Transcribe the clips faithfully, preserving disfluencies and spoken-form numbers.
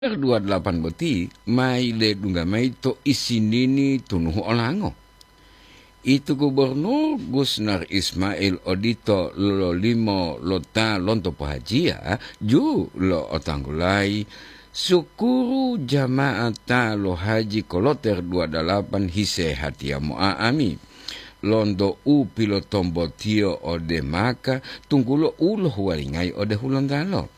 Dua delapan boti ma yiledungga mayi to isinini tunuhu olango. Itu Gubernur Gusnar Ismail odito lololimo lo ta lonto pohajiya, ju lo otanggulayi, sukuru jama'at ta lohaji koloter dua dalapan hisehatiya mo'a'ami, lonto u pilotombotiyo ode Maka, tunggulo u lohuwalingayi ode Hulontalo.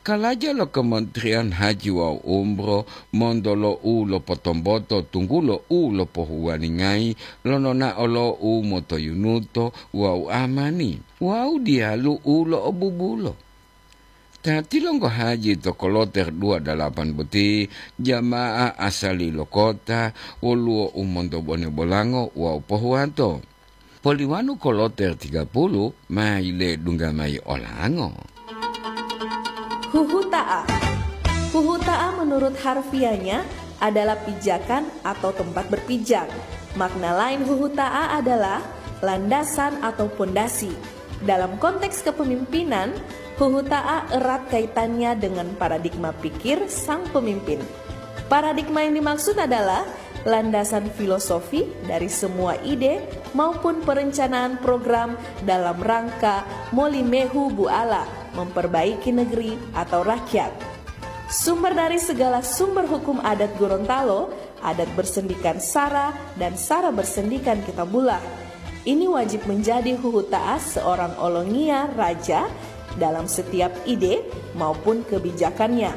Kalaja lo Kementerian Haji wawu Umroh monto lo u lopotomboto, tunggulo u lopohuwalingayi lo nonao lo u motoyunuto wawu amani, wawu diyalu u lo'obubulo. Ta tilonggo haji to koloter dua dalapan boti, jamaah asali lo kota, woluwo u monto bone bolango wawu pohuwato. Poliwanu koloter tiga puluh ma yiledungga mayi olango. Huhuta'a. Huhuta'a menurut harfiahnya adalah pijakan atau tempat berpijak. Makna lain huhuta'a adalah landasan atau pondasi. Dalam konteks kepemimpinan, huhuta'a erat kaitannya dengan paradigma pikir sang pemimpin. Paradigma yang dimaksud adalah landasan filosofi dari semua ide maupun perencanaan program dalam rangka molimehu buala memperbaiki negeri atau rakyat. Sumber dari segala sumber hukum adat Gorontalo, adat bersendikan sara dan sara bersendikan kitabullah. Ini wajib menjadi huhuta'a seorang olongiya raja dalam setiap ide maupun kebijakannya.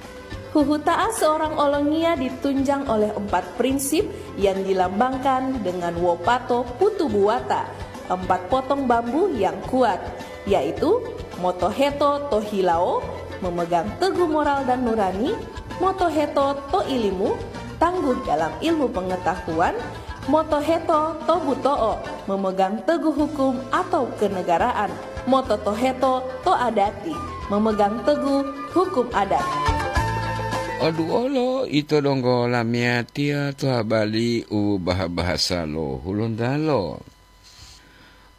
Huhuta'a seorang olongiya ditunjang oleh empat prinsip yang dilambangkan dengan wopato putu buwata, empat potong bambu yang kuat, yaitu motoheto to hilawo, memegang teguh moral dan nurani, motoheto to ilimu, tangguh dalam ilmu pengetahuan, motoheto to buto'o, memegang teguh hukum atau kenegaraan, mototoheto to adati, memegang teguh hukum adat. Oduolo ito donggo lamiyatiya to habali u baha-bahasa lo Hulontalo.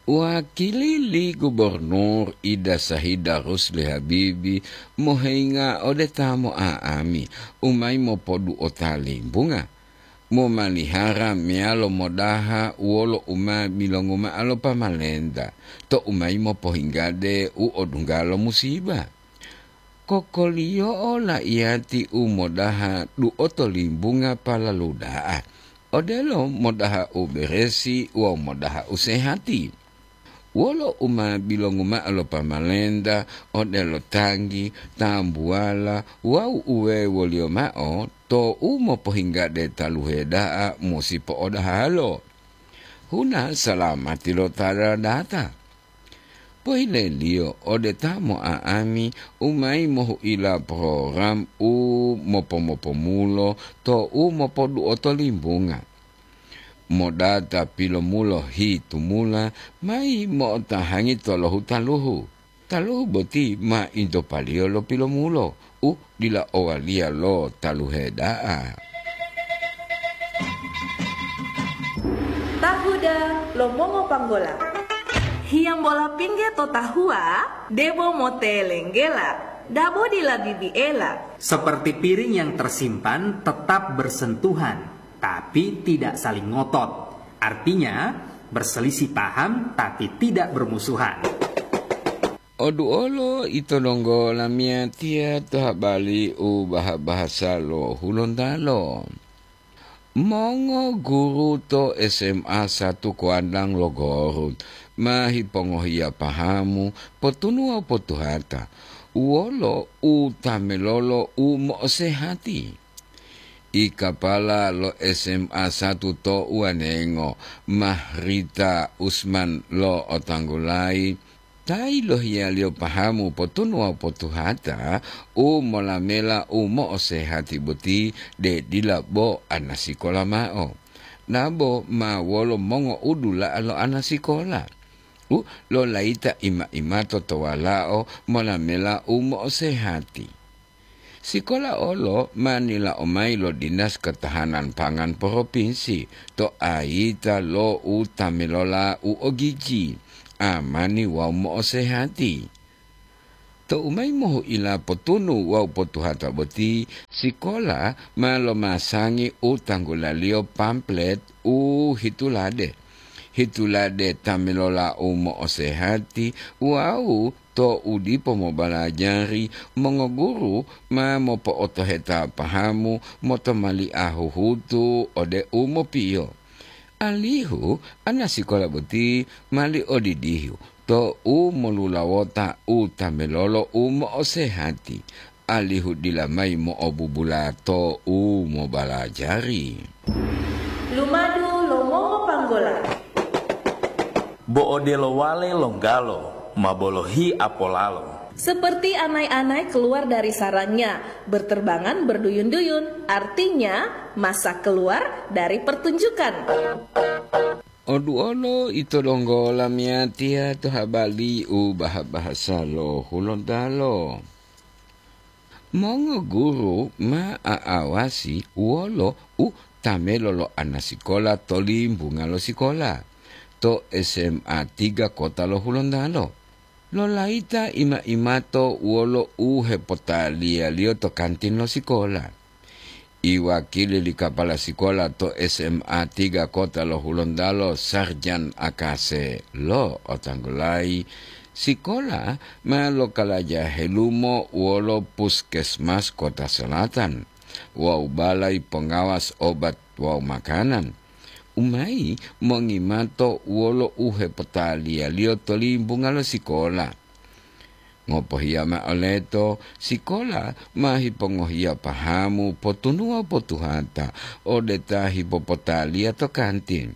Wakili li Gubernur Ida Sahida Rusli Habibi moheinga ode ta mo'a'ami u mayi mopodu'ota limbunga, momalihara meyalo modaha wolo u ma bilongu ma'o lo pamalenta to u mayi mopohinggade u odungga lo musiba. Kokoliyo'o laiyati u modaha du'oto limbunga palalu da'a, odelo modaha u beresi wawu modaha u sehati. Wolo u ma bilongu ma'o lo pamalenta, odelo tanggi, tambuwala wawu uwewoliyo ma'o, to u mopohinggade taluhe da'a musi po'odahalo. Huna salamati lo ta data. Pohileliyo ode ta mo'a'ami u mayi mohu'ila program u mopo-mopomulo to u mopodu'oto limbunga. Modata pilomulo hitumula mayi mo'otahangi tolohu taluhu. Taluhu boti ma intopaliyo lo pilomulo u dila owaliya lo taluhe da'a. Tahuda lo mongopanggola. Hiyambola pingge to tahuwa, debo motelenggela, dabo dila bibiela. Seperti piring yang tersimpan tetap bersentuhan, tapi tidak saling ngotot. Artinya, berselisih paham tapi tidak bermusuhan. Oduolo ito donggo lamiyatiya to habali u baha-bahasa lo Hulontalo. Mongo guru to S M A satu Kuadang lo Gorut ma hipongohiya pahamu potunu wawu potuhata wolo u tamelolo u mo'osehati. I kapala lo S M A satu to Uwanengo, Mahrita Usman lo otanggulayi, ta yilohiyaliyo pahamu potunu wawu potuhata u molamela u mo'osehati boti, de dila bo anasikola ma'o, nabo ma wolo mongo'udula'a lo anasikola u lolayita ima-imato to walao molamela u mo'osehati. Sikola olo ma nila'o mayi lo Dinas Ketahanan Pangan Propinsi to ayita lo u tamelola u ogiji, amani wawu mo'osehati. Tou mayi mohu'ila potunu wawu potuhata boti, sikola ma lomasangi u tanggulaliyo pamflet u hitulade. Hitulade ta melola u mo'osehati wawu to u dipo mobalajari, mongoguru ma mopo'otoheta pahamu motomali'a huhutu ode u mopiyo. Alihu ana sikola boti mali odidihu to u molulawota u ta melolo u mo'osehati, alihu dila mayi mo'obubula to u mobalajari. Lumadu lo mongopanggola. Bo odelo wale longgalo ma bolohi apolalo. Seperti anai-anai keluar dari sarangnya, berterbangan berduyun-duyun, artinya masak keluar dari pertunjukan. Oduolo ito donggo lamiyatiya to habali u baha-bahasa lo Hulontalo. Mongoguru ma a'awasi wolo u tamelo lo anasikola to limbunga lo sikola to S M A tiga Kota lo Hulontalo. Lolayita ima-imato wolo u hepotaliyaliyo to kantin lo sikola. Iwakili li kapala sikola to S M A tiga Kota lo Hulontalo, Sarjan Akase, lo'otanggulayi, sikola ma lokalaja helumo wolo puskesmas Kota Selatan wawu balai pongawas obat wawu makanan, u mayi mongimato wolo u hepotaliyaliyo to limbunga lo sikola. Ngopohiya ma'o leto, sikola ma hipongohiya pahamu potunuwa potuhata ode ta hipopotaliya to kantin,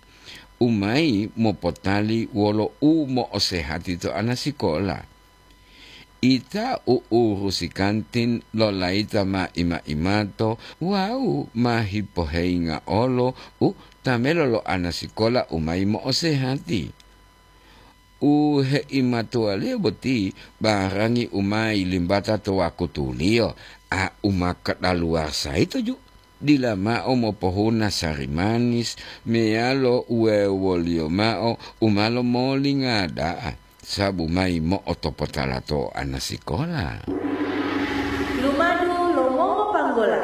u mayi mopotali wolo u mo'osehati to ana sikola. Ita u urusi kantin lolayita ma ima-imato wawu ma hipoheyinga olo u tamelo lo ana sikola u mayi mo'osehati. U heimatuwaliyo boti barangi u ma yilimbata to wakutuliyo, a u ma kadaluwasa yito ju, dila mao mopohuna sari manis meyalo uwewoliyo mao u ma lomolinga da'a, sabu mayi mo'otopotala to ana sikola. Lumadu lo mongopanggola.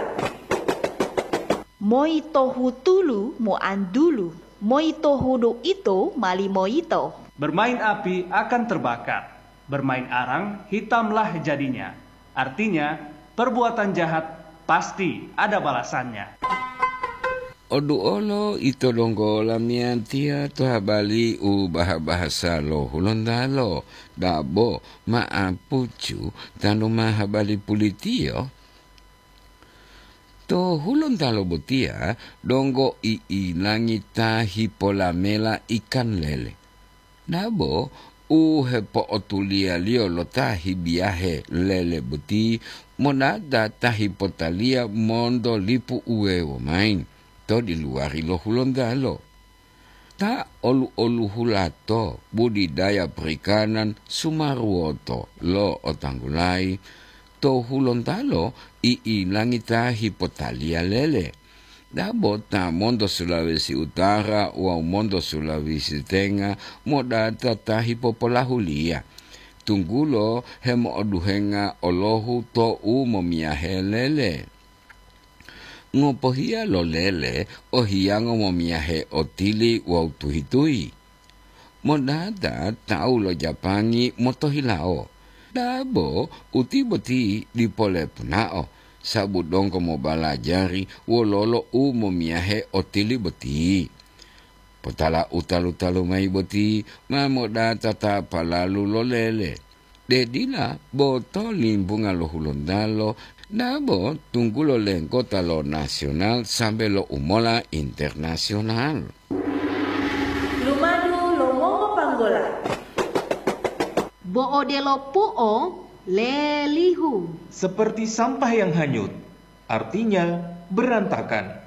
Moi to hutulu moantulu, moi to hudu ito ma limoyito. Bermain api akan terbakar, bermain arang hitamlah jadinya. Artinya, perbuatan jahat pasti ada balasannya. Oduolo ito donggo lamiyatiya to habali u baha-bahasa lo Hulontalo, dabo ma'apucu tanu ma habali pulitiyo. To Hulontalo botiya donggo i'ilangi ta hipolamela ikan lele. Dabo u hepo'otuliyaliyo lo ta hibiyahe lele boti monata ta hipotaliya monto lipu uwewo mayi to diluwari lo Hulontalo. Ta olu-oluhulato budidaya perikanan sumaruwoto lo'otanggulayi to Hulontalo i'ilangi ta hipotaliya lele. Dabo ta monto Sulawesi Utara wawu monto Sulawesi Tenga modata ta hipopolahuliya, tunggulo hemo'oduhenga olohu to u momiyahe lele. Ngopohiya lo lele o hiyango momiyahe otili wawu tuhi-tuhi. Modata tawu lo Japangi motohilawo, dabo uti boti dipo lepunao, sabu donggo mobalajari wololo u momiyahe otili boti. Potala u talu-talu mayi boti ma modata ta palalu lo lele. De dila bo to limbunga lo Hulontalo, dabo tunggulo lenggota lo nasional sambe lo umola internasional. Lumadu lo mongopanggola. Bo odelo pu'o lelihu. Seperti sampah yang hanyut, artinya berantakan.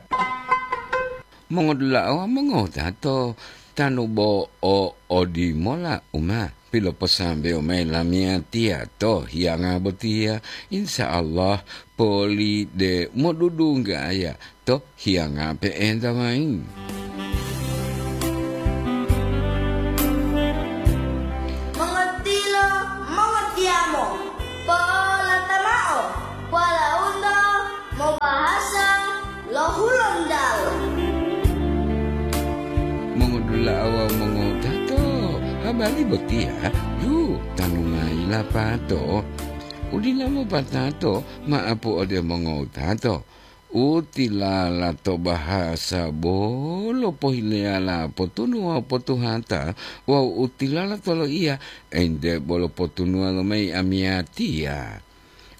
Mongodula'a wawu mongotato, tanu bo o odimola u ma piloposambewo mayi lamiyatiya to hiyanga botiya, insya Allah poli de modudunggaya to hiyanga pe'enta mayi. Mongotilo, mongotiyamo. Bali botiya, yu, tanungayi lapato. Udila mopatato ma'apu ode mongowutato. U tilala to bahasa bolo pohileyala potunu wawu potuhata, wawu u tilala to loiya, ente bolo potunuwa lomayi amiyatiya.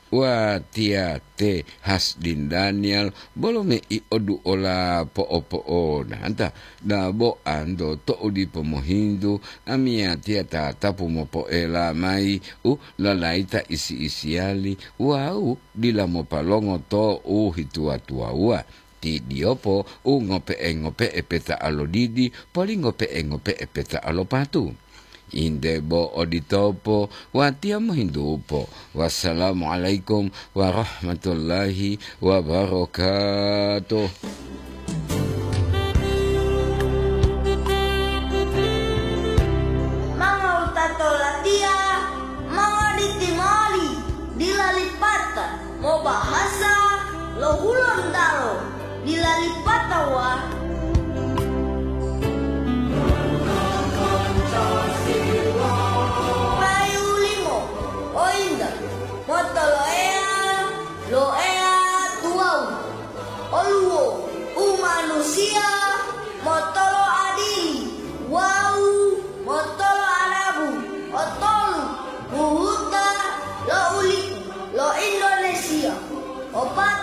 Watiya te Hasdin Daniel bolo mei oduola po'opo'onata, dabo anto to'u dipo mohintu, amiyatiya tatapu mopoela mayi u lalayita isi-isiyali wawu dila mopalongo to u hituwa-tuwawuwa. Ti diyopo u ngope'e-ngope'e peta'a lo didi, poli ngope'e-ngope'e peta'a lo patu. Inde bo oditopo, watiya mohintupo. Wassalamualaikum warahmatullahi wabarakatuh. Mangawutato latiya, mangawaliti moli, dila lipata. Mobahasa lo Hulontalo dila lipatawa. Payu limo, o inta, motoloeya lo Eya tuwawu, oluwo u manusiya motoloadili wawu motoloadabu otolu buhuta lo ulipu lo Indonesia. Opat